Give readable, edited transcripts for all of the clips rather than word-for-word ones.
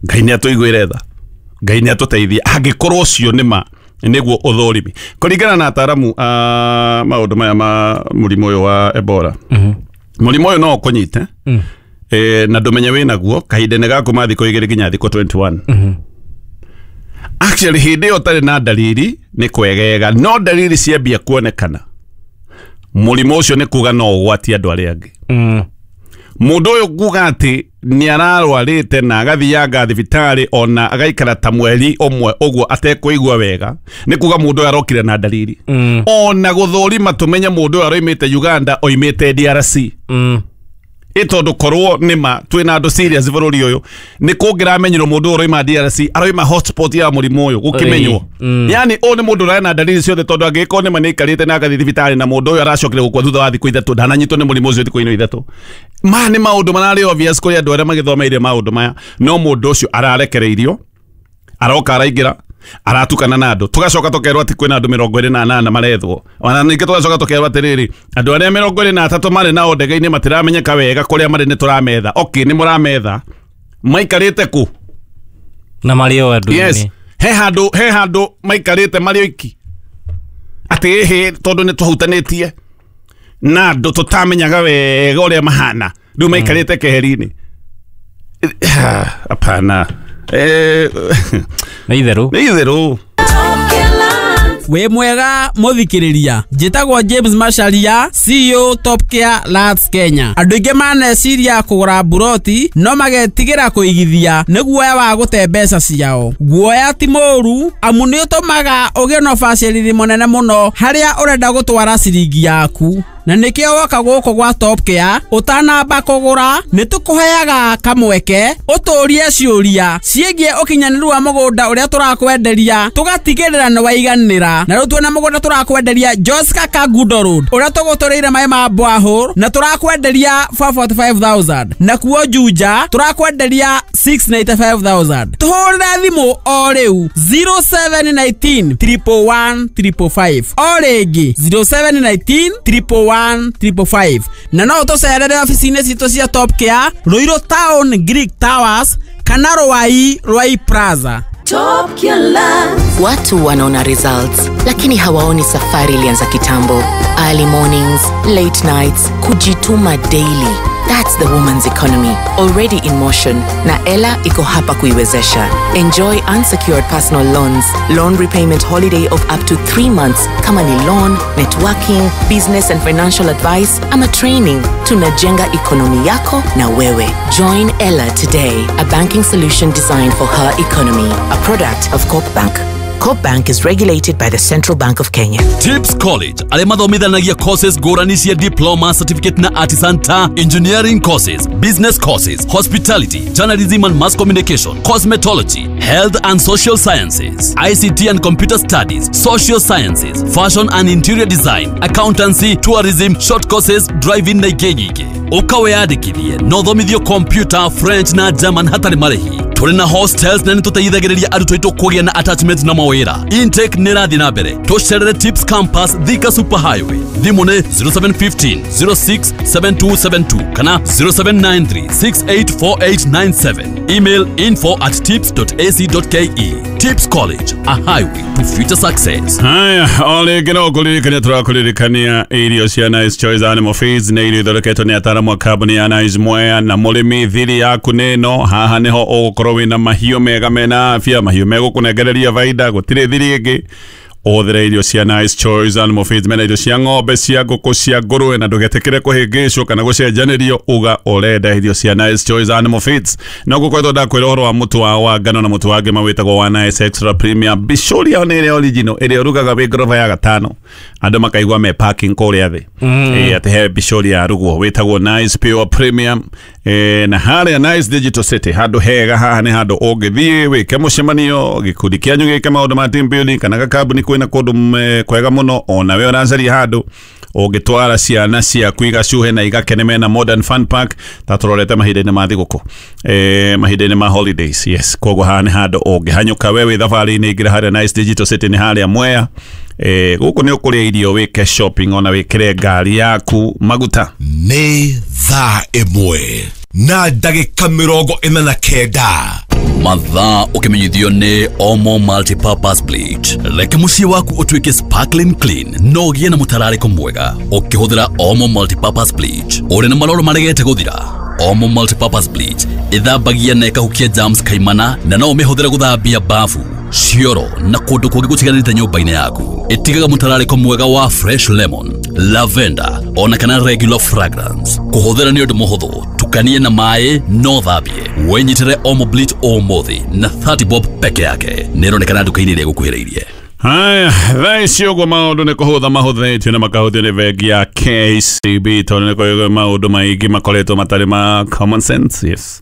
Ngai nĩ atũiguĩre tha, Ngai nĩ atũteithie angĩkorwo ũcio nĩ ma nĩguo ũthũrimi kũringana na ataramu a maũndũ maya ma mũrimũ ũyũ wa Ebola. Mũrimũ ũyũ no ũkũnyite na ndũmenye wĩ naguo kahinda-inĩ ga kuma thikũ 2 nginya thikũ 21. Actually hĩndĩ ĩyo ũtarĩ na dalili nĩ kwegega, no dalili ciambia kuonekana mũrimũ ũcio nĩ kuga no ũgwatie andũ arĩa angĩ. Mũndũ ũyũ kuga atĩ nĩ ararwarĩte na agathianga thibitarĩ ona agaikara ta mweri ũmwe ũguo atekũigua wega, nĩ kuga mũndũ ũyũ arokire na dalili. Ona gũthũrima tũmenye mũndũ ũyũ aroimĩte Uganda oimĩte DRC. Ĩ tondũ korwo nĩma twĩna andũ serious bũrũri ũyũ nĩ kũngĩramenyirwo mũndũ ũyũ ũroima DRC aroima hotspot ya mũrimũ ũyũ gũkĩmenywo. Yani ũyũ nĩ mũndũ ũrarĩ na dalili ciothe tondũ angĩgĩkorwo nĩma nĩ aikarĩte na agathiĩ thibitarĩ na mũndũ ũyũ aracokire gũkua thutha wa thikũ 3 ndananyitwo nĩ mũrimũ ũcio thikũ-inĩ 3. Maya nĩ maũndũ mararĩ obvious kũrĩ andũ arĩa magĩthomeire maũndũ maya, no mũndũ ũcio ararekereirio aroka araingĩra aratukana na andũ, tũgacoka tũkerwo atĩ kwĩna andũ 28 marethwo, ona ningĩ tũgacoka tũkerwo atĩrĩrĩ andũ arĩa 23 marĩ nao ndege-inĩ matiramenyeka wega kũrĩa marĩ nĩ tũrametha. Okay, nĩ mũrametha, maikarĩte kũ? Na marĩ o andũ. Yes, he handũ maikarĩte marĩ oiki atĩ ĩhĩ tondũ nĩ tũhutanĩtie na andũ tũtamenyaga wega ũrĩa mahana rĩu maikarĩte keheri-inĩ. Hapana. Nĩ itherũ. Nĩ itherũ. Wĩ mwega mũthikĩrĩria, njĩtagwo James Macharia, CEO Top Care Lands Kenya. Andũ aingĩ maneciria kũgũra mburoti no magetigĩra kũigithia nĩ guoya wa gũte mbeca ciao. Guoya ti mũũru amu nĩ ũtũmaga ũgĩe na ũbacĩrĩri mũnene mũno harĩa ũrenda gũtwara ciringi yaku, na nĩkĩo woka gũkũ gwa Top Care ũtanamba kũgũra nĩ tũkũheaga kamweke ũtũrie ciũria ciĩgiĩ ũkinyanĩru wa mũgũnda ũrĩa tũrakwenderia, tũgatigĩrĩra nĩ waiganĩra. Na rĩu twĩna mũgũnda tũrakwenderia Joska Kangundo Road ũrĩa tũgũtũrĩire maĩ ma borehole na tũrakwenderia 445,000, na kuo Juja tũrakwenderia 695,000. Tũhũrĩre thimũ o rĩu 0719 111 555, o rĩngĩ 0719 111 555, na no ũtũcerere obici-inĩ citũ cia Top Care Ruiru Town Greek Towers kana Ruai Ruai Plaza. Top Care Lands. Watu wanaona results lakini hawaoni safari ilianza kitambo. Early mornings, late nights, kujituma daily. That's the woman's economy already in motion, na Ella iko hapa kuiwezesha. Enjoy unsecured personal loans, loan repayment holiday of up to 3 months. Kama ni loan, networking, business and financial advice ama training, tunajenga economy yako na wewe. Join Ella today, a banking solution designed for her economy. A product of Coop Bank. Coop Bank is regulated by the Central Bank of Kenya. Tips College arĩa mathomithanagia courses ngũrani cia diploma, certificate na artisan ta engineering courses, business courses, hospitality, journalism and mass communication, cosmetology, health and social sciences, ICT and computer studies, social sciences, fashion and interior design, accountancy, tourism, short courses, driving na ingĩ nyingĩ. Ũka wĩyandĩkithie na ũthomithio computer, French na German hatarĩ marĩhi. Tũrĩ na hostels na nĩ tũteithagĩrĩria arutwo aitũ kũgĩa na attachment na mawĩra. Intake nĩ ĩrathiĩ na mbere. Tũcerere Tips Campus, Thika Super Highway. Thimũ nĩ 0715 06 7272 kana 0793 684897. Email info@tips.ac.ke. Tips College, a highway to future success. Haya, o rĩngĩ no kũririkania tũrakũririkania irio cia Nice Choice Animal Feeds nĩ irio ithondeketwo nĩ ataaramu a kambuni ya Nice Mwea. Na mũrĩmi, thiri yaku nĩ ĩno haha nĩho ũgũkorwo wĩna mahiũ mega mena afya, mahiũ megũkũnengereria baida, gũtirĩ thiri ĩngĩ. Ũhũthĩre irio cia Nice Choice Animal Feeds, mena irio cia ng'ombe, cia ngũkũ, cia ngũrũwe, na ndũgetĩkĩre kũhĩngĩcwo kana gũcenjanĩrio. Uga ũrenda irio cia Nice Choice Animal Feeds. No gũkoretwo ndakwĩra ũhoro wa mũtu wa ngano na mũtu wa ngima wĩtagwo wa Nice Extra Premium. Bicũri yao nĩ ĩrĩa original ĩrĩa ũrugaga wĩ ngoroba ya gatano andũ makaigua me parking kũrĩa thĩ. Ĩ atĩ he bicũri ya rugwo wĩtagwo Nice Pure Premium. Na harĩa Nice Digital City handũ hega, haha nĩ handũ ũngĩthiĩ wĩke mũcemanio, gĩkundi kĩanyu gĩke maũndũ ma team building kana gakambuni kwĩna kũndũ kwega mũno. Ona we ũracaria handũ ũngĩtwara ciana ciaku igacuhe na igakene, mena modern fun park ta tũrorete mahinda-inĩ ma thigũkũ, mahinda-inĩ ma holidays, yes. Koguo haha nĩ handũ ũngĩhanyũka we wĩ thabarĩ-inĩ, ingĩra harĩa Nice Digital City nĩ harĩa Mwea. Gũkũ nĩ ũkũrĩa irio, wĩke shopping, ona wĩkĩre ngari yaku maguta. Nĩ thaa 1 na ndagĩka 49. Mathaa ũkĩmenyithio nĩ Omo Multipurpose Bleach. Reke mũciĩ waku ũtuĩke sparkling clean na ũgĩe na mũtararĩko mwega ũkĩhũthĩra Omo Multipurpose Bleach. Ũrĩ na maroro maregete gũthira? Omo Multipurpose Bleach ĩthambagia na ĩkahukia germs kaimana na no ũmĩhũthĩre gũthambia bafu, cioro na kũndũ kũngĩ gũtiganĩte nyũmba-inĩ yaku. Ĩtigaga mũtararĩko mwega wa fresh lemon, lavender ona kana regular fragrance. Kũhũthĩra nĩ ũndũ mũhũthũ, tukanie na maĩ no thambie. Wĩnyitĩre Omo Bleach ũmũthĩ na 30 bob peke yake. Nĩĩronekana nduka-inĩ ĩrĩa ĩgũkuhĩrĩirie. Haya, thaa ici ũguo maũndũ nĩ kũhũtha mahũthĩtio na makahũthio nĩ bengi ya KCB tondũ nĩ kũrĩ maũndũ maingĩ makoretwo matarĩ ma common sense. Yes,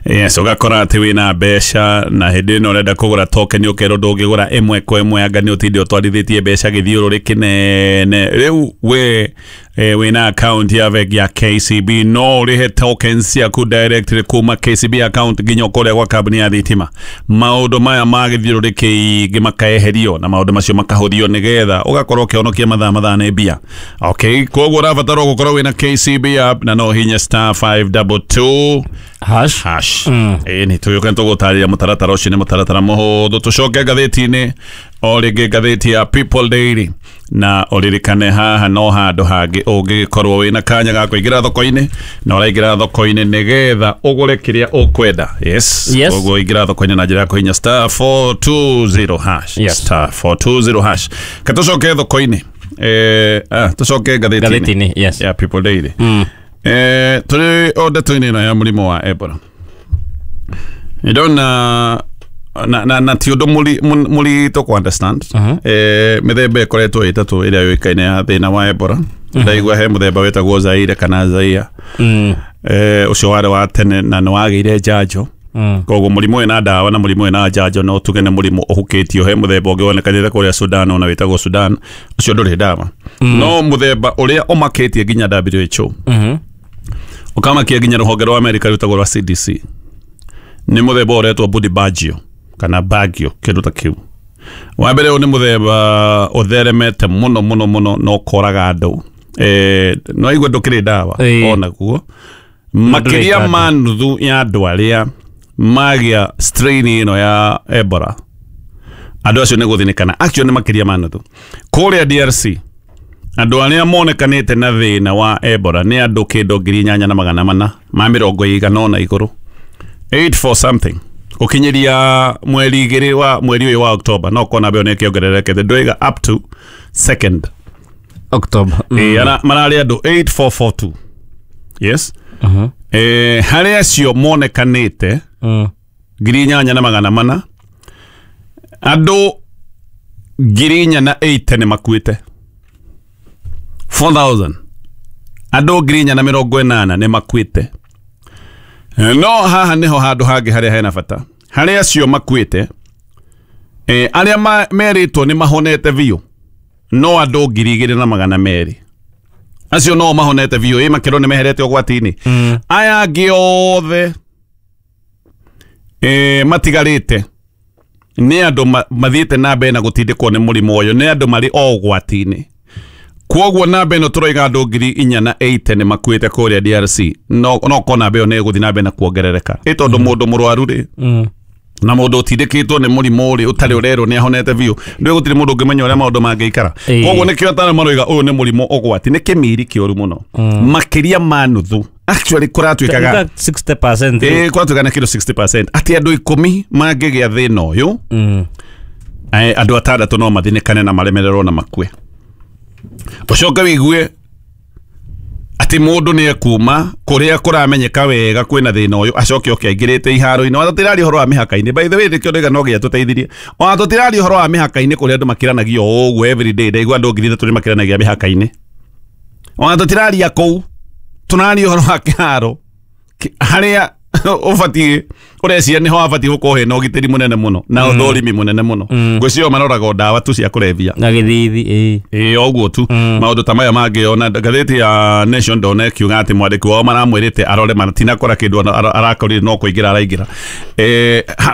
yes, ũgakora atĩ wĩna mbeca na hĩndĩ ĩno ũrenda kũgũra token ũkerwo ndũngĩgũra ĩmwe kwa ĩmwe, anga nĩ ũtinde ũtwarithĩtie mbeca gĩthiũrũrĩ kĩnene. Rĩu we wĩna account ya bengi ya KCB no ũrĩhe tokens ciaku directly kuma KCB account nginya kũrĩa gwa kambuni ya thitima. Maũndũ maya ma gĩthiũrũrĩ kĩingĩ makaeherio na maũndũ macio makahũthio nĩgetha ũgakorwo ũkĩhonokia mathaa nĩ mbia. Okay, koguo ũrabatarwo gũkorwo wĩna KCB app na no hinya star 522 hash hash. Ĩĩ nĩ tũgĩũka nĩtũgũtarĩria mũtaratara ũcio, nĩ mũtaratara mũhũthũ. Tũcoke ngathĩti-inĩ o rĩngĩ, ngathĩti ya People Daily, na ũririkane haha no handũ hangĩ ũngĩgĩkorwo wĩna kanya ga kũingĩra thoko-inĩ, na ũraingĩra thoko-inĩ nĩgetha ũgũre kĩrĩa ũkwenda. Yes, Yes. Koguo ingĩra thoko-inĩ na njĩra ya kũhinya star 420 hash. Yes. Star 420 hash. Ka tũcoke thoko-inĩ, tũcoke ngathĩti-inĩ Ngathĩti-inĩ, yes. ya People Daily. Tũrĩ o ndeto-inĩ ĩno ya mũrimũ wa Ebola, ndona na ti ũndũ mũritũ kũ understand. Mĩthemba ĩkoretwo ĩtatũ ĩrĩa yũĩkaine ya thĩna wa Ebola. Ndaigua he mũthemba wĩtagwo Zaire kana Zaire. Ũcio warĩ wa tene na nĩ wagĩire njanjo. Koguo mũrimũ wĩna ndawa na mũrimũ wĩna njanjo no tuge nĩ mũrimũ ũhukĩtio. He mũthemba ũngĩ wonekanĩte kũrĩa Sudan ona wĩtagwo Sudan, ũcio ndũrĩ ndawa. No mũthemba ũrĩa ũmakĩtie nginya WHO, ũkamakia nginya rũhonge rwa Amerika rwĩtagwo rwa CDC, nĩ mũthemba ũretwo Budibagio kana Bagio, kĩndũ ta kĩu. Wa mbere ũyũ nĩ mũthemba ũtheremete mũno mũno mũno na ũkoraga andũ. No igua ndũkĩrĩ ndawa onaguo makĩria ma nuthu ya andũ arĩa magĩa strain ĩno ya Ebola, andũ acio nĩ gũthinĩkana. Actually nĩ makĩria ma nuthu. Kũrĩa DRC andũ arĩa monekanĩte na thĩna wa Ebola nĩ andũ kĩndũ 8480 igũrũ, 84 something, gũkinyĩria mweri 2 wa mweri ũyũ wa October. No kona mbeo nĩ kĩongererekete, ndũiga up to 2nd October. Mararĩ andũ 8442. Yes. Harĩ acio monekanĩte 8400, andũ 4080 nĩ makuĩte. 4000 andũ 4080 nĩ makuĩte. No haha nĩho handũ hangĩ harĩa hena bata. Harĩ acio makuĩte, arĩa merĩtwo nĩ mahonete biũ no andũ 2200. Acio no mahonete biũ, makĩrwo nĩ meherete ũgwati-inĩ. Aya angĩ othe matigarĩte nĩ andũ mathiĩte na mbere na gũtindĩkwo nĩ mũrimũ ũyũ, nĩ andũ marĩ o ũgwati-inĩ. Koguo namba ĩno tũroiga andũ 4080 nĩ makuĩte kũrĩa DRC, no kona mbeo nĩ ĩgũthiĩ na mbere na kuongerereka. Ĩ tondũ mũndũ mũrwaru rĩ na mũndũ ũtindĩkĩtwo nĩ mũrimũ rĩ ũtarĩ ũrerwo nĩ ahonete biũ, ndũĩ gũtirĩ mũndũ ũngĩmenya ũrĩa maũndũ mangĩikara. Koguo nĩkĩo ataaramu maroiga ũyũ nĩ mũrimũ ũgwati, nĩ kĩmiri kĩũru mũno, makĩria ma nuthu. Actually kũratuĩkaga 60%. Kũratuĩkaga nĩ kĩndũ 60% atĩ andũ 10 mangĩgĩa thĩna ũyũ, andũ 6 no mathinĩkane na maremererwo na makue. Ũcoke wĩigue atĩ mũndũ nĩ ekuma kũrĩa kũramenyeka wega kwĩna thĩna ũyũ, acoke oke aingĩrĩte iharo-inĩ. Ona tũtiraria ũhoro wa mĩhaka-inĩ, by the way nĩkĩo ndauga no nginya tũteithirie. Ona tũtiraria ũhoro wa mĩhaka-inĩ kũrĩa andũ makĩranagio o ũguo every day. Ndaigua andũ 3,000 nĩ makĩranagia mĩhaka-inĩ. Ona tũtiraria kũu, tũraria ũhoro wa kĩharo harĩa ũbatiĩ ũreciria nĩho wabatiĩ gũkorwo hena ũgitĩri mũnene mũno na ũthũrimi mũnene mũno. Ngwĩciria maroraga ndawa tu cia kũrebia na gĩthithi. Ĩĩ ũguo tu. Maũndũ ta maya mangĩ ona ngathĩti ya Nation ndona ĩkiuga atĩ mwandĩki wao maramwĩrĩte arore matinakora kĩndũ arakorire no kũingĩra araingĩra.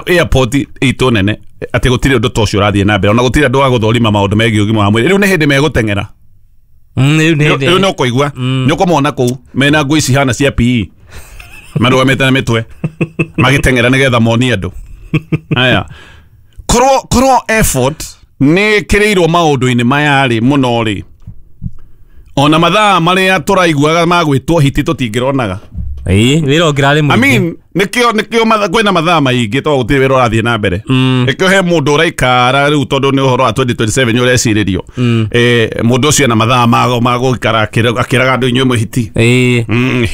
Airport itũ nene atĩ gũtirĩ ũndũ ta ũcio ũrathiĩ na mbere, ona gũtirĩ andũ a gũthũrima maũndũ megiĩ ũgima wa mwĩrĩ. Rĩu nĩ hĩndĩ megũteng'era. Rĩu nĩ ũkũigua nĩ ũkũmona kũu mena nguo ici hana cia PE marũgamĩte na mĩtwe magĩteng'era nĩgetha monie andũ. Aya korwo effort nä kä rä irwo maå ndå-inä maya rä må no rä ona mathaa marĩa tũraiguaga magwĩtwo hiti tũtingĩronaga. Wĩra ũngĩrarĩ mũingĩ. I mean nĩkĩo kwĩna mathaa maingĩ tondũ gũtirĩ wĩra ũrathiĩ na mbere. Nĩkĩo he mũndũ ũraikara rĩu tondũ nĩ ũhoro wa 2027 ũrecirĩrio. Mũndũ ũcio ena mathaa ma gũikara akĩraga andũ inyuĩ mwĩ hiti.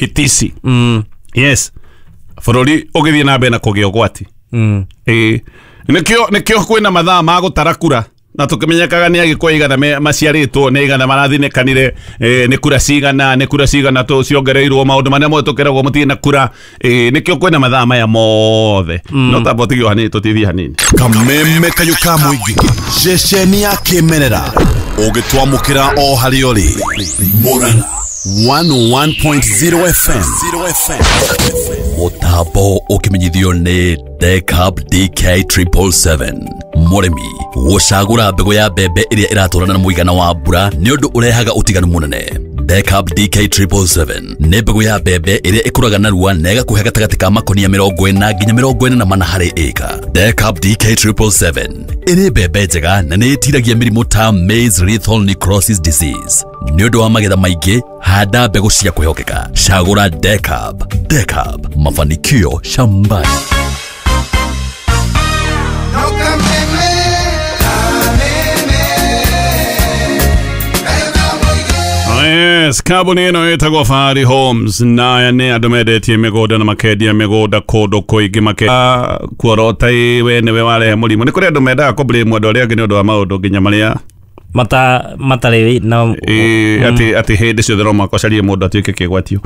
Hitici. Yes. Bũrũri ũgĩthiĩ na mbere na kũgĩa ũgwati. Nĩkĩo kwĩna mathaa ma gũtara kura na tukimenyekaga nĩ agĩkũyũ igana maciarĩtwo nĩ igana marathinĩkanire nĩ kura cigana nĩ kura cigana ciongereirwo maũndũ marĩa mothe tũkeragwo mũtirĩ na kura nĩkĩo kwĩna mathaa maya mothe no tamba ũtigio hanini tũtithie hanini. Kameme kayũ ka mũingĩ ceceni ya kĩmerera ũgĩtwamũkĩra o harĩa ũrĩ Murang'a 101.0 FM. Mũtambo ũkĩmenyithio nĩ Decab DK 777. Mũrĩmi gũcagũra mbegũ ya mbembe ĩrĩa ĩratwarana na mũigana wa mbura nĩ ũndũ ũrehaga ũtiganu mũnene. Decab DK 777 nĩ mbegũ ya mbembe ĩrĩa ĩkũraga narua na ĩgakũhe gatagatĩ ka makonia 40 nginya 44 harĩ ĩka. Decab DK 777 ĩrĩ mbembe njega na nĩ ĩtiragia mĩrimũ ta maize lethal necrosis disease. Nĩ ũndũ wa magetha maingĩ, handa mbegũ cia kwĩhokeka. Cagũra Decab. Decab, mafanikio shambani. Yes, kambuni ĩno ĩtagwo Fahari Homes na aya nĩ andũ mendetie mĩgũnda na makendia mĩgũnda kũndũ kũingĩ kuorota we nĩwe warehe mũrimũ. Nĩ kũrĩ andũ mendaga kũ blame andũ arĩa angĩ nĩ ũndũ wa maũndũ nginya marĩa matarĩ na atĩ hĩndĩ ciothe no mũhaka ũcarie mũndũ atuĩke kĩgwatio.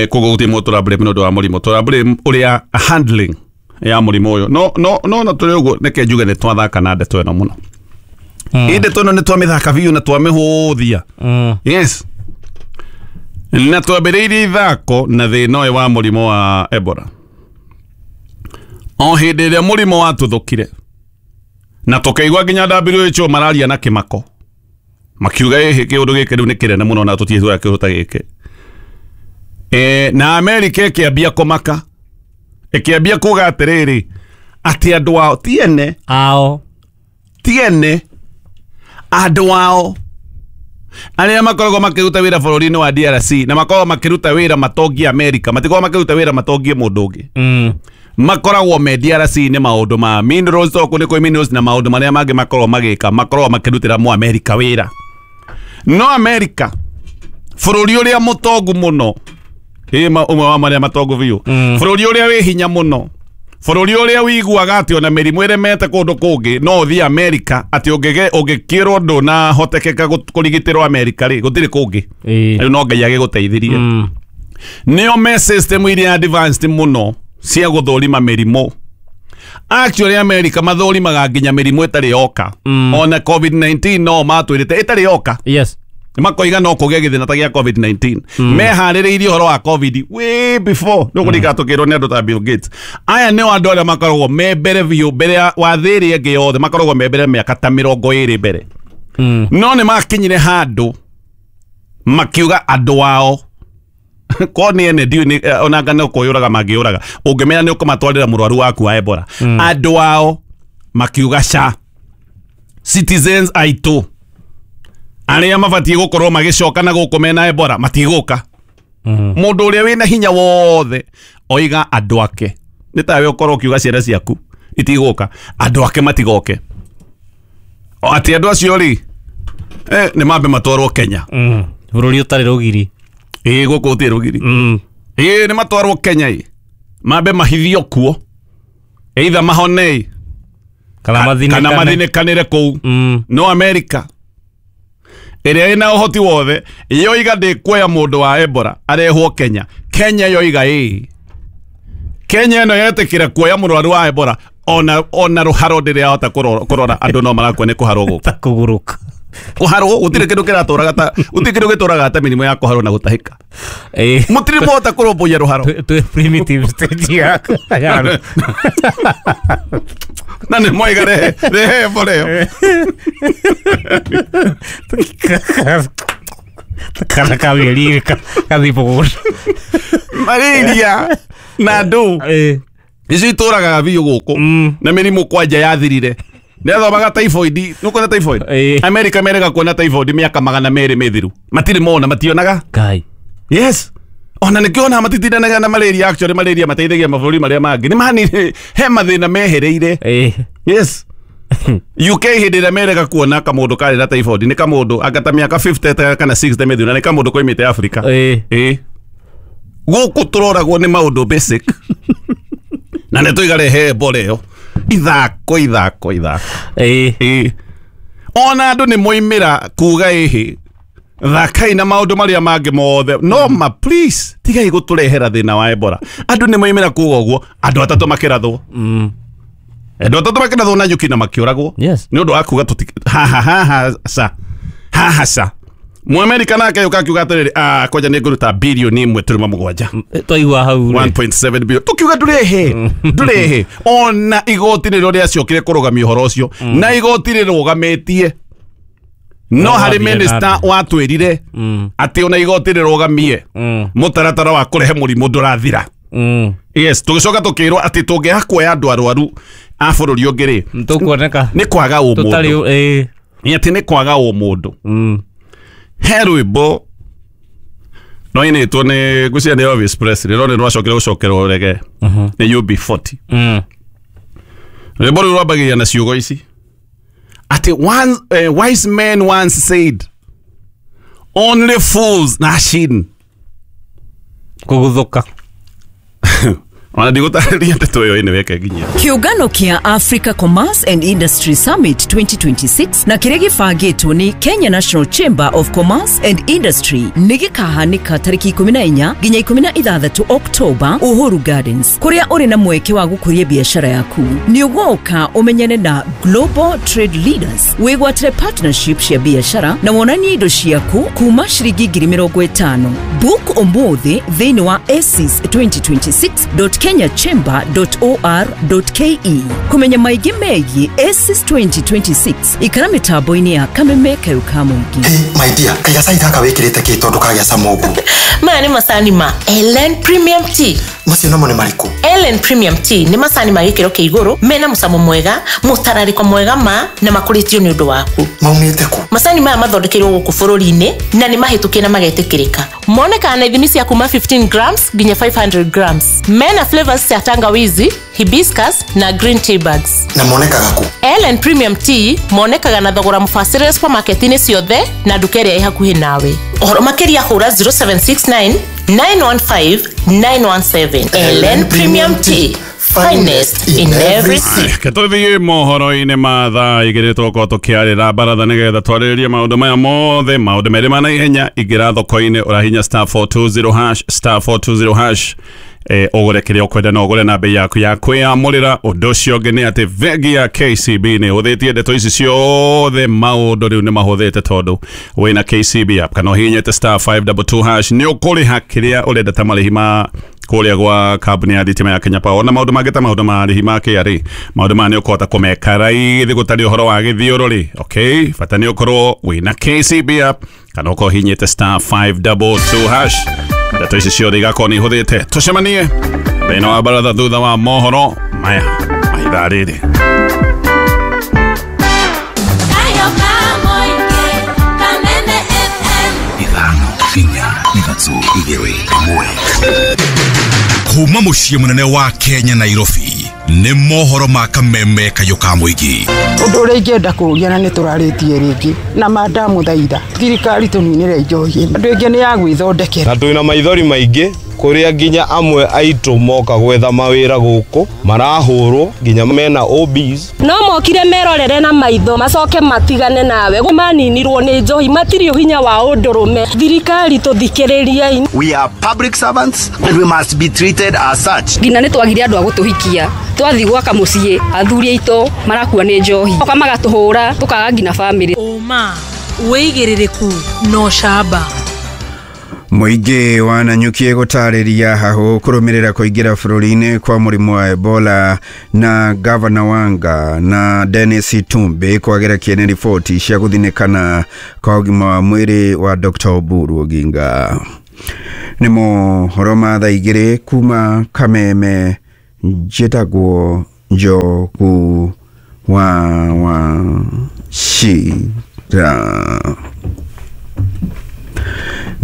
Koguo gũtirĩ mũndũ tũra blame nĩ ũndũ wa mũrimũ, tũra blame ũrĩa handling ya mũrimũ ũyũ. No na tũrĩ ũguo nĩke njuge nĩ twathaka na ndeto ĩno mũno. Ĩ ndeto ĩno nĩ twamĩthaka biũ na twamĩhũthia. Yes. Na twambĩrĩirie ithako na thĩna ũyũ wa mũrimũ wa Ebola. O hĩndĩ ĩrĩa mũrimũ watuthũkire na tũkaigua nginya WHO mararia na kĩmako makiuga ĩhĩ kĩũndũ gĩkĩ rĩu nĩ kĩnene mũno na tũtiĩ kĩũndũ ta gĩkĩ. Na Amerika ĩkĩambia kũmaka, ĩkĩambia kuga atĩrĩrĩ atĩ andũ ao ti ene ao ti ene andũ ao arĩa makoragwo makĩruta wĩra bũrũri-inĩ wa DRC na makoragwo makĩruta wĩra matongie Amerika, matikoragwo makĩruta wĩra matongie mũndũ ũngĩ. Makoragwo me DRC nĩ maũndũ ma minerals, tondũ nĩ kũrĩ minerals na maũndũ marĩa mangĩ makoragwo magĩka, makoragwo makĩrutĩra mũ Amerika wĩra. No Amerika bũrũri ũrĩa mũtongu mũno, ũmwe wa marĩa matongu biũ, bũrũri ũrĩa wĩ hinya mũno, bũrũri ũrĩa wĩiguaga atĩ ona mĩrimũ ĩremete kũndũ kũngĩ no ũthiĩ Amerika atĩ ũngĩkĩrwo ndũnahotekeka kũrigitĩrwo Amerika rĩ, gũtirĩ kũngĩ. Rĩu no Ngai agĩgũteithirie. Nĩo me system iria advanced mũno cia gũthũrima mĩrimũ. Actually Amerika mathũrimaga nginya mĩrimũ ĩtarĩ yoka. Ona COVID-19 no matwĩrĩte ĩtarĩ yoka. Yes. Makoiga no kũgĩa gĩthĩna ta gĩa COVID-19. Meharĩrĩirie ũhoro wa COVID way before. Nĩ ũkũririkana tũkĩrwo nĩ andũ ta Bill Gates. Aya nĩo andũ arĩa makoragwo me mbere biũ, mbere wa thĩ ĩrĩa ĩngĩ yothe, makoragwo me mbere mĩaka ta 20 mbere. No nĩ makinyire handũ makiuga andũ ao ko nĩ ene ndiũĩ ona anga no kũyũraga mangĩyũraga, ũngĩmenya nĩ ũkũmatwarĩra mũrwaru waku wa Ebola. Andũ ao makiuga ca citizens aitũ arĩa mabatiĩ gũkorwo magĩcoka na gũkũ mena Ebola matigũka. Mũndũ ũrĩa wĩna hinya wothe oiga andũ ake, nĩ tawe ũkorwo ũkiuga ciana ciaku itigũka, andũ ake matigoke. O atĩ andũ acio rĩ nĩ mambe matwarwo Kenya, bũrũri ũtarĩ rũgiri. Gũkũ gũtirĩ rũgiri. Nĩ matwarwo Kenya ĩ mambe mahithio kuo, either mahone kana mathinĩkanĩre kũu. No Amerika ĩrĩa ĩna ũhoti wothe yoiga ndĩkuoya mũndũ wa Ebola arehwo Kenya. Kenya yoiga ĩ Kenya ĩno yetĩkĩra kuoya mũrwaru wa Ebola ona rũharo ndĩrĩ yahota kũrora andũ no marakua nĩ kũharwo gũkũ. Kũgũrũka. Kũharwo gũtirĩ kĩndũ kĩratũraga ta gũtirĩ kĩndũ gĩtũraga ta mĩrimũ ya kũharwo na gũtahĩka. Mũtirĩ mwahota kũrũmbũiya rũharo. Twĩ primitive stage ya. Na nĩ mwaiga rehe Ebola ĩyo. Kana kamĩeri kathiĩ mũgũnda. Malaria na ndũ. Icio itũragaga biũ gũkũ na mĩrimũ kwanja yathirire. Nĩathomaga typhoid, nĩũkuona typhoid? America merega kuona typhoid mĩaka 200 mĩthiru. Matirĩ mona, mationaga. Ngai. Yes. Ona nĩkĩo ona matitindanaga na malaria, actually malaria mateithagia mabũrũri marĩa mangĩ. Nĩ mani he mathĩna mehereire. Yes. UK hĩndĩ ĩrĩa merega kuona kamũndũ karĩ na typhoid nĩ kamũndũ anga ta mĩaka 50 kana 60 mĩthiru na nĩ kamũndũ koimĩte Africa. Gũkũ tũroragwo nĩ maũndũ basic. Na nĩ tũigarehe Ebola ĩyo. Ithako ithako ithako. Ona andũ nĩ moimĩra kuga ĩhĩ thakai na maũndũ marĩa mangĩ mothe no ma please tigai gũtũrehera thĩna wa Ebola. Andũ nĩ moimĩra kuga ũguo, andũ atatũ makĩrathwo. Andũ atatũ makĩrathwo na nyuki na makĩũragwo. Nĩ ũndũ wa kuga ha ha ha sa ha ha sa. Mũamerika nake yũka akiuga atĩrĩrĩ, kwanja nĩ ngũruta bilioni 1.7. Twaigua hau 1.7 billion. Tukiuga ndũrehe, ndũrehe. Ona igoti nĩrĩo rĩacokire kũrũgamia ũhoro ũcio. Na igoti rĩrũgamĩtie. No harĩ minister watwĩrire atĩ ona igoti rĩrũgamie mũtaratara wa kũrehe mũrimũ ndũrathira. Yes, tũgĩcoka tũkĩrwo atĩ tũngĩaga kuoya andũ arwaru a bũrũri ũngĩ rĩ, tũkuoneka nĩ kwaga ũmũndũ. Nĩ atĩ nĩ kwaga ũmũndũ. He rwĩmbo rwainĩtwo nĩ ngwĩciria nĩ Elvis Presley, no nĩ rwacokire gũcokerwo rege nĩ UB40. Rwĩmbo rũu rwambagĩrĩria na ciugo ici atĩ wise men once said only fools rush in. Kũguthũka. Ona ndigũtarĩria ndeto ĩyo ĩnĩ weke nginya. Kiũngano kĩa Africa Commerce and Industry Summit 2026 na kĩrĩa gĩbangĩtwo nĩ Kenya National Chamber of Commerce and Industry nĩ gĩkahanĩka tarĩki 14 nginya 16 October Uhuru Gardens, kũrĩa ũrĩ na mweke wa gũkũria biacara yaku. Nĩ ũgoka ũmenyane na Global Trade Leaders, wĩgwatĩre partnership cia biacara na wonanie indo ciaku kuma ciringi 50,000. Book ũmũthĩ thĩinĩ wa ACES 2026.kenyachamber.or.ke. Kũmenya maingĩ megiĩ ACES 2026 ikara mĩtambo-inĩ ya Kameme Kayũ ka Mũingĩ. Hey, my dear, kaiga cai gaka wĩkĩrĩte kĩ tondũ kagĩa cama ũguo? Maya nĩ macani ma Ellen Premium Tea. Macio namo nĩ marĩkũ? Ellen Premium Tea nĩ macani ma gĩkĩro kĩa igũrũ mena mũcamo mwega, mũtararĩko mwega ma na makũrĩtio nĩ ũndũ waku. Maumĩte kũ? Macani maya mathondekeirwo gũkũ bũrũri-inĩ na nĩ mahĩtũkie na magetĩkĩrĩka. Monekaga na ithimi cia kuma 15 grams nginya 500 grams. Mena flavors cia tangawizi, hibiscus na green tea bags. Na monekaga kũ? Ellen Premium Tea monekaga na thogora mũbacĩrĩre supermarket-inĩ ciothe na nduka ĩrĩa ĩ hakuhĩ nawe. Ũhoro makĩria hũra 0769 915 917. Ellen Premium Tea, finest in every sip. Ketũthiĩ mohoro-inĩ ma thaa igĩrĩ tũgũkorwo tũkĩarĩra baratha nĩgetha twarĩrĩrie maũndũ maya mothe, maũndũ merĩ ma naihenya. Ingĩra thoko-inĩ ũrahinya star 420 hash, star 420 hash, ũgũre kĩrĩa ũkwenda na ũgũre na bei yaku ya kwĩyamũrĩra. Ũndũ ũcio ũngĩ nĩ atĩ bengi ya KCB nĩ ĩhũthĩtie ndeto ici ciothe, maũndũ rĩu nĩ mahũthĩte tondũ wĩna KCB app kana ũhihinyĩte star 522 hash nĩ ũkũrĩha kĩrĩa ũrenda ta marĩhi ma kũrĩa gwa kambuni ya thitima ya Kenya Power na maũndũ mangĩ ta maũndũ ma marĩhi ma KRA. Maũndũ maya nĩ ũkũhota kũmeka raithi gũtarĩ ũhoro wa gĩthiũrũrĩ. Okay, bata nĩ ũkorwo wĩna KCB app kana ũkorwo ũhihinyĩte star 522 hash. Ndeto ici ciothe igakorwo nĩ ihũthĩte. Tũcemanie thĩinĩ wa baratha thutha wa mohoro maya ma ithaa rĩrĩ. 5 4 3 2 1. Kuma mũciĩ mũnene wa Kenya Nairobi nĩ mohoro ma Kameme Kayũ ka Mũingĩ. Ũndũ ũrĩa ingĩenda kũũria na nĩ tũrarĩtie rĩngĩ na mandamũthaitha thirikari tũninĩre njohi andũ aingĩ nĩ ya gwĩthondekera. Na twĩna maithori maingĩ kũrĩa nginya amwe aitũ moka gwetha mawĩra gũkũ marahũrwo nginya mena OBs. No mokire merorere na maitho macoke matigane nawe maninirwo nĩ njohi matirĩ ũhinya wa ũndũrũme. Thirikari tũthikĩrĩriei. We are public servants and we must be treated as such. Nginya nĩ twagire andũ a gũtũhikia twathi gwaka mũciĩ athuri aitũ marakua nĩ njohi oka magatũhũra tũkaga nginya family. Ũma wĩigĩrĩrĩku na ũcamba. Mũingĩ wa Nanyuki gũtarĩria hahũ kũrũmĩrĩra kũingĩra bũrũri-inĩ kwa mũrimũ wa Ebola na Gavana Wanga na Dennis Itumbi kwagĩra kĩene riboti cia gũthinĩkana kwa ũgima wa mwĩrĩ wa Dr. Oburu Oginga. Nĩ mohoro ma thaa igĩrĩ kuma Kameme. Njĩtagwo Njogu wa Wachira.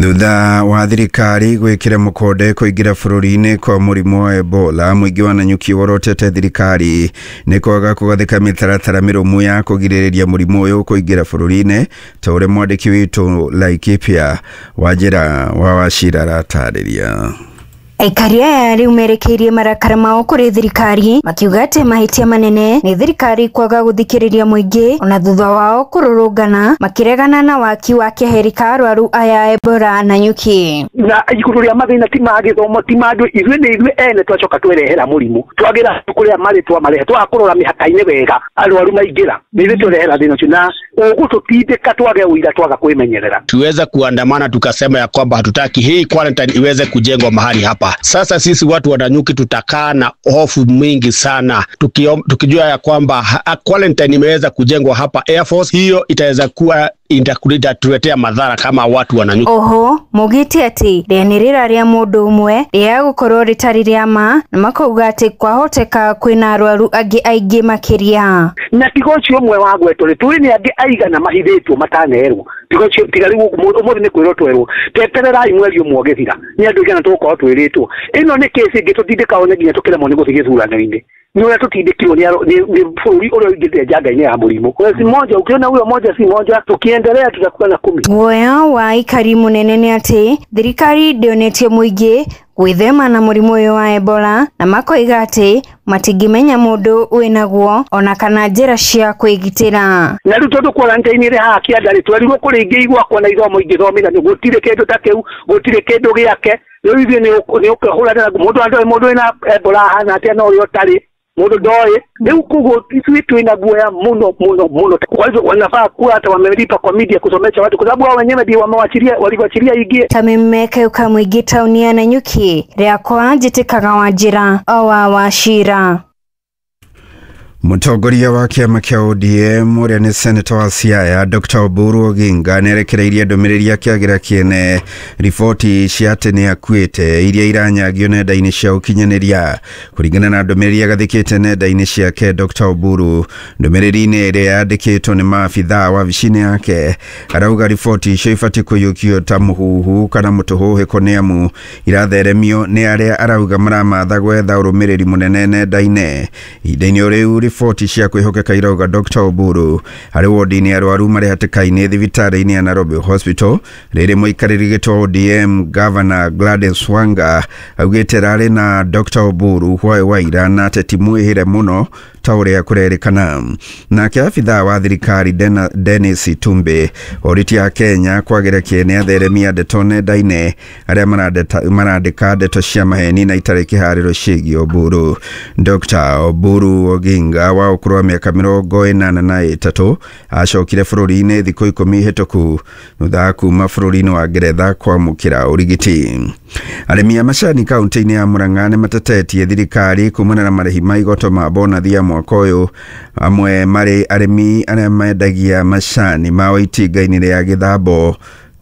Thutha wa thirikari gwikira mukonde kuingira bururi-ini kwa murimu wa Ebola, muingi wa Nanyuki worotete thirikari ni kwaga kugathika mitaratara mirumu ya kugiririria murimu uyu kuingira bururi-ini, ta uria mwandiki witu Laikipia Wajira wa Wachira aratariria. Aikari aya rĩu merekeirie marakara mao kũrĩ thirikari makiuga atĩ mahĩtia manene nĩ thirikari kwaga gũthikĩrĩria mũingĩ ona thutha wao kũrũrũngana makĩregana na waki wa keheri ka arwaru aya Ebola Nanyuki. Na igũrũ rĩa mathĩna ti ma gĩthomo ti ma andũ, ithuĩ nĩ ithuĩ ene twacoka twerehera mũrimũ, twagĩra kũrĩa marĩ twamarehe, twaga kũrora mĩhaka-inĩ wega arwaru maingĩra, nĩ ithuĩ twerehera thĩna ũcio na ũgũtũtindĩka twage ũira twaga kwĩmenyerera. Tuweza kuandamana tukasema ya kwamba hatutaki hii quarantine iweze kujengwa mahali hapa. Sasa sisi watu wa Nanyuki tutakaa na hofu mingi sana tukijua ya kwamba quarantine imeweza kujengwa hapa Air Force, hiyo itaweza kuwa itatuletea madhara kama watu wa Nanyuki. Oho mugite ati rĩanĩrĩra rĩa mũndũ ũmwe rĩa gũkorwo rĩtarĩ rĩa ma, na makauga atĩ kwahoteka kwĩna arwaru angĩ aingĩ makĩria. Na tiga ũcio ũmwe wa gwetwo rĩ, tũĩ nĩ angĩ aigana mahithĩtwo matanerwo, tiga ũcio, tiga rĩu ũmũthĩ nĩ kwĩrwo twerwo tetererai mweri ũmwe ũgĩthira, nĩ andũ aigana tũgũkorwo twĩrĩtwo. Ĩno nĩ kesi ĩngĩ tũtindĩkaga nginya tũkĩremwo nĩ gũthiĩ gĩthurano-inĩ, nĩ ũrĩa tũtindĩkirwo nĩ bũrũri ũrĩa ũingĩrĩte njanga-inĩ ya mũrimũ. Si moja, ukiona huyo moja si moja, tukiendelea tutakuwa na 10. Guoya wa aikari mũnene nĩ atĩ thirikari ndĩonetie mũingĩ gwĩthema na mũrimũ ũyũ wa Ebola, na makoiga atĩ matingĩmenya mũndũ wĩnaguo ona kana njĩra cia kwĩgitĩra. Na rĩu tondũ quarantine ĩrĩ haha kĩanda rĩ, twerirwo kũrĩ ingĩ igwakwo na ithomo ingĩthomithania, gũtirĩ kĩndũ ta kĩu, gũtirĩ kĩndũ gĩake. Rĩu ithuĩ nĩ ũkĩhũranĩra mũndũ andoĩ mũndũ wĩna Ebola ahana atĩa na ũrĩa ũtarĩ, mũndũ ndoĩ. Rĩu koguo ithuĩ twĩna guoya mũno mũno mũno. Kwa hivyo wanafaa kuwa hata wamelipa kwa media kusomesha watu, kwa sababu wao wenyewe ndio wamewachilia, waliwachilia ingie. Tamimeke ukamwingi tauni ya Nanyuki rĩakwa njĩtĩkaga Wanjira wa Wachira. Mũtongoria wa kĩama kĩa ODM ũrĩa nĩ seneta wa Siaya Dr. Oburu Oginga nĩarekereirie ndũmĩrĩri akĩagĩra kĩene riboti cia atĩ nĩ akuĩte iria iranyagio nenda-inĩ cia ũkinyanĩria. Kũringana na ndũmĩrĩri agathĩkĩte nenda-inĩ ciake, Dr. Oburu ndũmĩrĩri-inĩ ĩrĩa yandĩkĩtwo nĩ maabithaa wabici-inĩ yake arauga riboti icio ibatiĩ kũiyũkio ta mũhuhu kana mũtũhũhĩko nĩ amu iratheremio nĩ arĩa arauga maramatha gwetha ũrũmĩrĩri mũnene nenda-inĩ. Ihinda-inĩ o rĩu riboti cia kwĩhokeka irauga Dr. Oburu arĩ wodi-inĩ arwaru marĩ hatĩka-inĩ thibitarĩ-inĩ ya Nairobi Hospital. Rĩrĩ mũikarĩri gĩtĩ wa ODM Governor Gladys Wanga augĩte rarĩ na Dr. Oburu hwaĩ wa ira na ateti mwĩhĩre mũno ta ũrĩa kũrerĩkana. Nake abithaa wa thirikari Dennis Itumbi orĩtie Akenya kwagĩra kĩene atheremia ndeto nenda-inĩ arĩa marandĩka ndeto cia maheni na itarĩ kĩharĩro ciĩgiĩ Oburu. Dr. Oburu Oginga wa ũkũrũ wa mĩaka 83 acokire bũrũri-inĩ thikũ 10 hĩtũku thutha wa kuma bũrũri-inĩ wa Ngeretha kwamũkĩra ũrigiti. Arĩmi a macani kaunti-inĩ ya Murang'a nĩmatetetie thirikari kumana na marĩhi ma igoto ma bonathi ya mwaka ũyũ. Amwe marĩ arĩmi arĩa mendagia macani mao itinga-inĩ rĩa Gĩthambo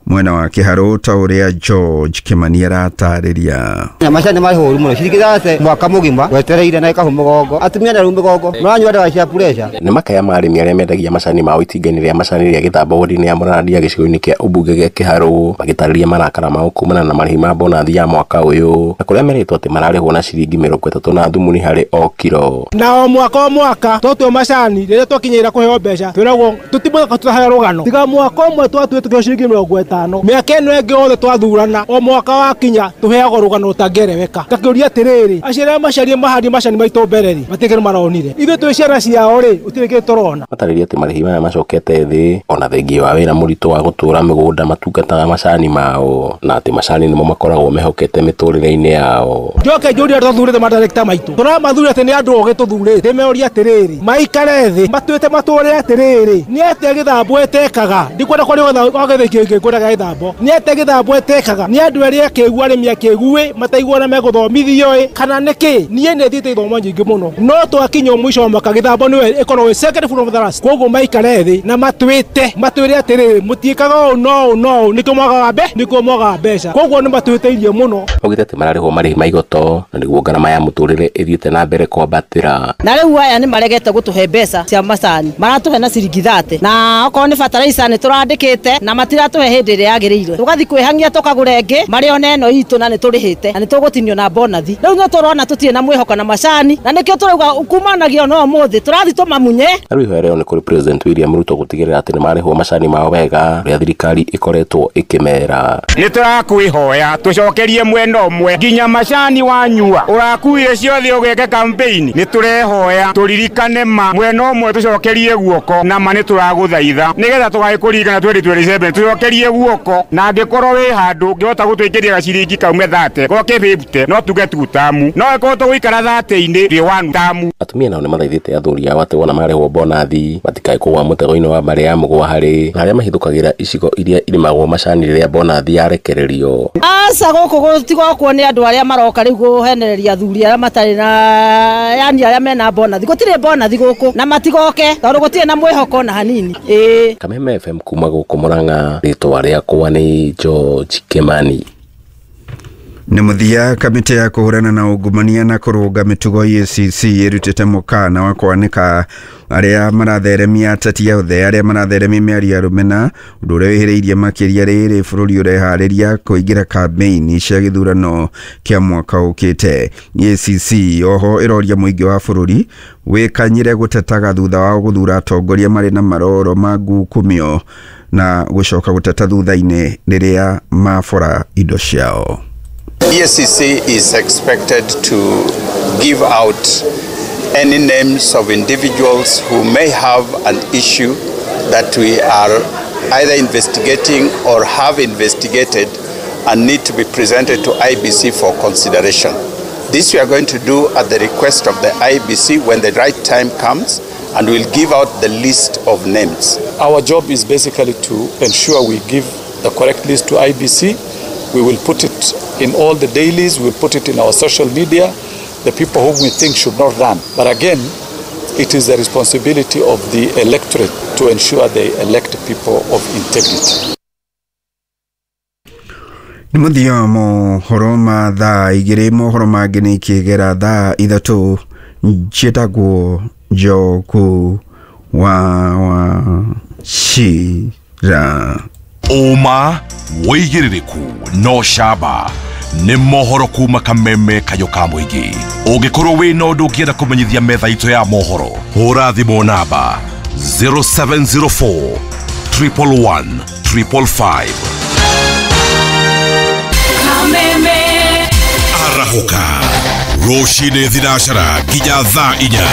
mwena wa Kĩharũ, ta ũrĩa George Kimani aratarĩria. Macani marĩ horu mũno, ciringi thate mwaka mũgima wetereire na ĩkahũ mũgongo, atumia na rĩu mĩgongo maranyua ndawa cia pressure. Nĩ makaya ma arĩmi arĩa mendagia macani mao itinga-inĩ rĩa macani rĩa Gĩthambo wodi-inĩ ya Mũrandia gĩcigo-inĩ kĩa ũmbunge gĩa Kĩharũ, magĩtarĩria marakara mao kumana na marĩhi ma bonathi ya mwaka ũyũ, na kũrĩa merĩtwo atĩ mararĩhwo na ciringi 30 na thumuni harĩ o kiro. Na o mwaka o mwaka twatua macani rĩrĩa twakinyĩra kũheo mbeca twĩragwo tũtimũthaka tũraheo rũgano, tiga mwaka ũmwe twatuĩte tũkĩheo ciringi 50. Mĩaka ĩno ĩngĩ yothe twathurana o mwaka wakinya tũheagwo rũgano rũtangĩereweka. Ngakĩũria atĩrĩrĩ, acio arĩa macarie mahandie macani maitũ mbere rĩ, matirĩ kĩndũ maronire, ithuĩ twĩ ciana ciao rĩ, gũtirĩ kĩndũ tũrona. Matarĩria atĩ marĩhi maya macokete thĩ ona thengia wa wĩra mũritũ wa gũtũra mĩgũnda matungataga macani mao, na atĩ macani nĩmo makoragwo mehokete mĩtũrĩre-inĩ yao. Njoke njũrie arĩa tũthurĩte madirector maitũ, tũramathurire atĩ nĩ andũ ogĩ tũthurĩte, ndĩmeũrie atĩrĩrĩ, maikare thĩ matuĩte matũre atĩrĩrĩ, nĩ atĩa Gĩthambo ĩtekaga? Ndikwenda kwaria gwa gĩthĩ kĩngĩ, ngwenda ya gĩthambo. Nĩ atĩa gĩthambo ĩtekaga? Nĩ andũ arĩa akĩgu arĩmi akĩgu mataiguana megũthomithio ĩ kana nĩkĩ? Niĩ nĩ thiĩte ithomo nyingĩ mũno no twakinya mũico wa mwaka gĩthambo nĩwe ĩkoragwo ĩ second from the last. Koguo maikare thĩ na matwĩte matwĩre atĩrĩrĩ mũtiĩkaga ũũ no ũũ no ũũ nĩkĩo mwagaga nĩkĩo mwagaga mbeca. Koguo nĩ matwĩtĩirie mũno. Augĩte atĩ mararĩhwo marĩhi ma igoto na nĩguo ngarama ya mũtũrĩre ĩthiĩte na mbere kwambatĩra. Na rĩu aya nĩ maregete gũtũhe mbeca cia macani, maratũhe na ciringi 30 na okorwo nĩ fertilizer nĩ tũrandĩkĩte na matiratũhe hĩndĩ ĩrĩa yagĩrĩire. Tũgathiĩ kwĩhangia tũkagũra ĩngĩ marĩ ona ĩno itũ na nĩ tũrĩhĩte na nĩ tũgũtinio na bonathi. Rĩu no tũrona tũtirĩ na mwĩhoko na macani na nĩkĩo tũrauga kumanagia no ũmũthĩ tũrathiĩ tũmamunye. Na rĩu ihoya rĩao nĩ kũrĩ President William Ruto gũtigĩrĩra atĩ nĩmarĩhwo macani mao wega ũrĩa thirikari ĩkoretwo ĩkĩmera. Nĩ tũrakwĩhoya tũcokerie mwena ũmwe nginya macani wanyua ũrakuire ciothe ũgeke campaign. Nĩ tũrehoya tũririkane ma mwena ũmwe tũcokerie guoko na ma nĩ tũragũthaitha nĩgetha tũgagĩkũririkana 2027 tũcokerie guoko na angĩkorwo wĩ handũ ũngĩhota gũtwĩkĩria gaciringi kaume 30 goke 50 no tuge tu tamu no ĩkorwo tũgũikara 30-inĩ rĩ 1 tamu. Atumia nao nĩmathaithĩte athuri ao atĩ wona marĩhwo bonathi matikae kũgũa mũtego-inĩ wa mbarĩ ya mũgwa harĩ na arĩa mahithũkagĩra icigo iria irĩmagwo macani rĩrĩa bonathi yarekererio. Aca gũkũ gũtigokwo nĩ andũ arĩa maroka rĩu kũhenereria athuri arĩa matarĩ na yani arĩa mena bonathi. Gũtirĩ bonathi gũkũ na matigoke tondũ gũtirĩ na mwĩhoko na hanini. Ĩĩ. Kameme FM kuma gũkũ Murang'a, rĩtwa rĩakwa nĩ George Kimani. Nĩ mũthia kamĩtĩ ya kũhũrana na ungumania na kũrũnga mĩtugo EACC ĩrutĩte mũkana wa kwanĩka arĩa maratheremia ateti othe arĩa maratheremia mĩario ya rũmena ũndũ ũrĩa wĩhĩrĩirie makĩria rĩrĩ bũrũri ũreharĩria kũingĩra kambĩini cia gĩthurano kĩa mwaka ũkĩte. EACC oho ĩroria mũingĩ wa bũrũri wĩkanyĩre gũtetaga thutha wa gũthura atongoria marĩ na maroro ma ngukumio na gũcoka gũteta thutha-inĩ rĩrĩa mabora indo ciao. EACC is expected to give out any names of individuals who may have an issue that we are either investigating or have investigated and need to be presented to IBC for consideration. This we are going to do at the request of the IBC when the right time comes, and we'll give out the list of names. Our job is basically to ensure we give the correct list to IBC. We will put it in all the dailies, we'll put it in our social media, the people whom we think should not run. But again, it is the responsibility of the electorate to ensure they elect people of integrity. Nĩ mũthia wa mohoro ma thaa igĩrĩ mohoro mangĩ nĩ ikĩgera thaa ithatũ njĩtagwo Njoku wa Wachira. Ũma wĩigĩrĩrĩku no camba nĩ mohoro kuma Kameme kayũ ka mũingĩ. Ũngĩkorwo wĩna ũndũ ũngĩenda kũmenyithia metha itũ ya mohoro, hũra thimũ namba 0704 111 555. Kameme Arahũka rũcinĩ thinacara nginya thaa inya.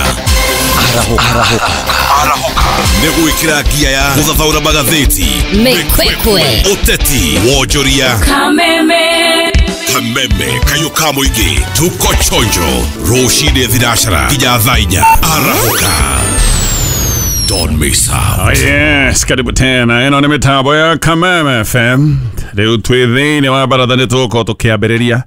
Arahũka nĩ gwĩkĩra ngia ya gũthathaũra magathĩti, Mĩkwekwe, ũteti, wonjoria. Kameme Kameme kayũ ka mũingĩ, tuko chonjo rũcinĩ thinacara nginya thaa inya. Arahũka, don't miss out. Oh yes, karibu tena ĩno nĩ mĩtambo ya Kameme FM. Rĩu twĩ thĩinĩ wa baratha nĩ tũgũkorwo tũkĩambĩrĩria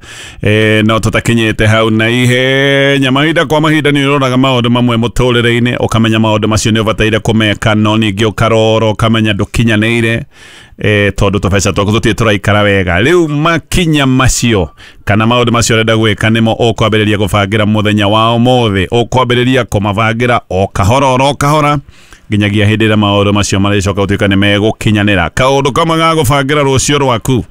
no tũtakinyĩte hau na ihenya. Mahinda kwa mahinda nĩ ũroraga maũndũ mamwe mũtũrĩre-inĩ ũkamenya maũndũ macio nĩ ũbataire kũmeka, no ningĩ ũkarora ũkamenya ndũkinyanĩire tondũ tũbeca twaku tũtirĩ tũraikara wega. Rĩu makinya macio kana maũndũ macio ũrenda gwĩka nĩmo ũkwambĩrĩria gũbangĩra mũthenya wa ũmũthĩ, ũkwambĩrĩria kũmabangĩra o kahora oro kahora nginyagia hĩndĩ ĩrĩa maũndũ macio marĩcoka gũtuĩka nĩ megũkinyanĩra. Kaũndũ kamwe ga gũbangĩra rũciũ rwaku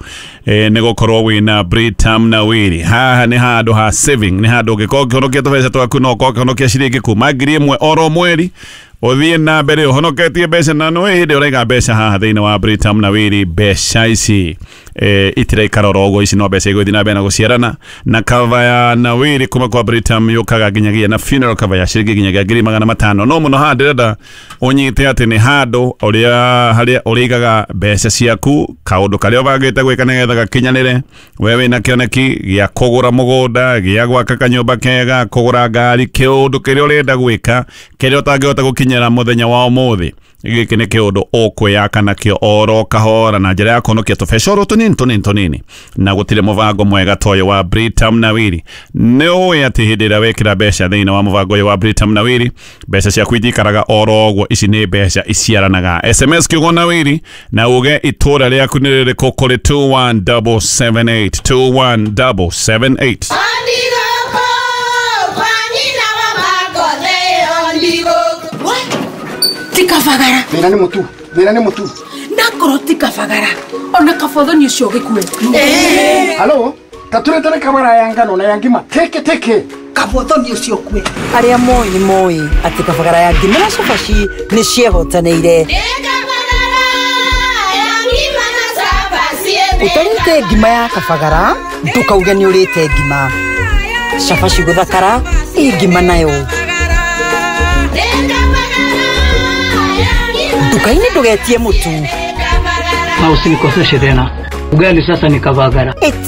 nĩ gũkorwo wĩna Britam na Wĩrĩ. Haha nĩ handũ ha saving, nĩ handũ ũngĩkorwo ũkĩhonokia tũbeca twaku no ũkorwo ũkĩhonokia ciringi kuma 1,000 oro mweri ũthiĩ na mbere ũhonoketie mbeca, na nĩ hĩndĩ ũraiga mbeca haha thĩinĩ wa Britam na Wĩrĩ. Mbeca ici itiraikara oro ũguo, ici no mbeca igũthiĩ na mbere na gũciarana. Na cover ya na Wĩrĩ kuma kwa Britam yũkaga nginyagia na funeral cover ya ciringi nginyagia 500,000. No mũno haha ndĩrenda ũnyite atĩ nĩ handũ ũrĩa harĩa ũrĩigaga mbeca ciaku, kaũndũ karĩa ũbangĩte gwĩka nĩgetha gakinyanĩre. We wĩna kĩoneki gĩa kũgũra mũgũnda, gĩa gwaka kanyũmba kega, kũgũra ngari, kĩũndũ kĩrĩa ũrenda gwĩka kĩrĩa ũtangĩhota gũkinyĩra mũthenya wa ũmũthĩ. Gĩkĩ nĩ kĩũndũ ũkwĩyaka nakĩo oro kahora na njĩra ya kũhonokia tũbeca oro tũnini tũnini tũnini, na gũtirĩ mũbango mwega ta ũyũ wa Britam Nawiri. Nĩ ũĩ atĩ hĩndĩ ĩrĩa wekĩra mbeca thĩinĩ wa mũbango ũyũ wa Britam Nawiri, mbeca ciaku itikaraga oro ũguo. Ici nĩ mbeca iciaranaga. SMS kiugo Nawiri na uge itũra rĩaku nĩ rĩrĩkũ kũrĩ 21778 21778. Tikabagara. Thĩna nĩ mũtu, thĩna nĩ mũtu. Nakorwo tikabagara ona kabothoni ũcio ũgĩkue. Halo, taturetere kabara ya ngano na ya ngima teke teke. Kabothoni ũcio ũkue. Arĩa moĩ nĩ moĩ atĩ kabagara ya ngima na cabaci nĩ ciehotanĩire. Ũtarĩte ngima ya kabagara ndũkauge nĩ ũrĩte ngima. Cabaci gũthakara ĩ ngima nayo. Nduka-inĩ ndũgetie mũtu. Na usinikoseshe tena. Ugali sasa ni kabagara.